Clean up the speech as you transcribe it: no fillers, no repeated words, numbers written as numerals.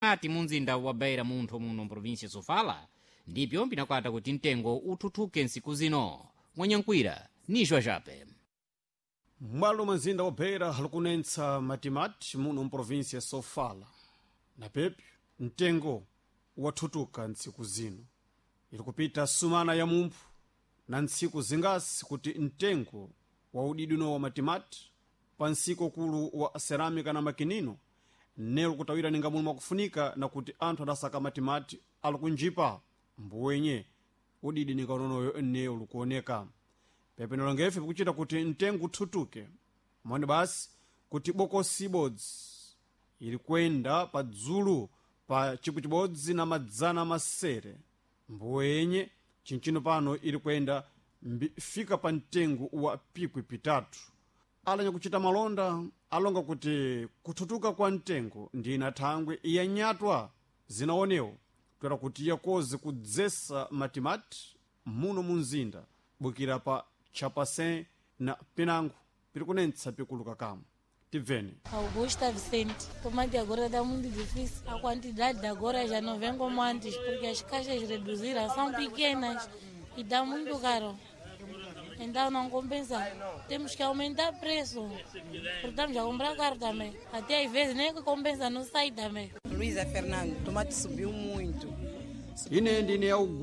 Ati munzinda wa Beira munthu muno mprovinsia Sofala ndipyo pinakwata kuti mtengo uthuthuke ntsiku zino. Mwanyankwira ni Joajape. M'bwalo mwa mzinda wa Beira likunentsa matimati muno mprovinsia ya Sofala na pepyo mtengo wathutuka ntsiku zino. Ili kupita sumana ya mumphu na ntsiku zingasi kuti mtengo wa udidino wa matimati pa nsiko kulu wa cerâmica na makinino nelo kutawira ninga muno mwakufunika na kuti anthu adasaka matimati ali kunjipa mbuwenye udidi ninga unonoyo nneyo likuoneka. Pepeno longefe pikuchita kuti mtengo uthutuke moni basi kuti bokosi ibodzi ili kwenda pa dzulu pa chikwi chibodzi na madzana masere, mbuwenye chinchino pano ili kwenda fika pa mtengo wa pikwi pitatu. Alanya kuchita malonda alonga kuti kuthutuka kwa mtengo ndi ina thangwe yanyatwa zinaonewo kutera kuti yakoze kudzesa matimati muno mu mzinda bukira pa Chapasin na Pinango piri kunentsa pikuluka kamwe. Tibveni. Augusta Vicente, tomate agora está muito difícil. A quantidade de agora já não vem como antes, porque as caixas reduziram, são pequenas e dá muito caro. Então não compensa. Temos que aumentar o preço, porque estamos a comprar caro também. Até às vezes nem que compensa, não sai também. Luísa Fernando, tomate subiu muito. Ine ndine.